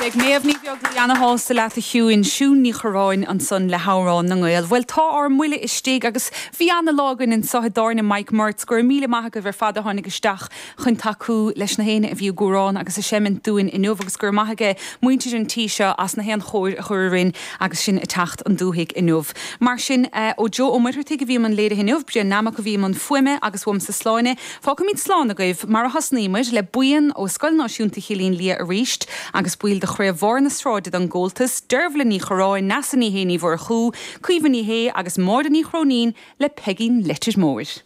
Beidh Méabh Ní Bheaglaoí ana-shásta leat a Shiúin, Siún Ní Chorráin ansan le hAmhrán na nGael. Bhuel tá ár mbuille istigh agus bhí ana-lá againn anso i dTábhairne Mike Murts. Go raibh míle maith agaibh ar fad a tháinig isteach chun tacú leis na héinne a bhí ag amhrán agus ag seimint dúinn inniu agus go raibh maith aige muintir an tí seo as na haon chóir a chur orainn agus sinn ag teacht an dúthaigh inniu. Mar sin, ó Joe Ó Muircheartaigh a bhí i mbun léirithe inniu, Brian Nammock a bhí i mbun fuaime agus uaimse Sláine. Fágfaimid slán agaibh mar a thosnaíomar, le buíon ó Scoil Náisiúnta Chillín Liath arís agus baill de Chraobh Bharr na Sráide don gComhaltas, Deirbhile Ní Chorráin, Neasa Ní Shé Ní Mhurchú, Caoimhe Ní Shé agus Máire Ní Chróinín le Peigín Leitir Móir.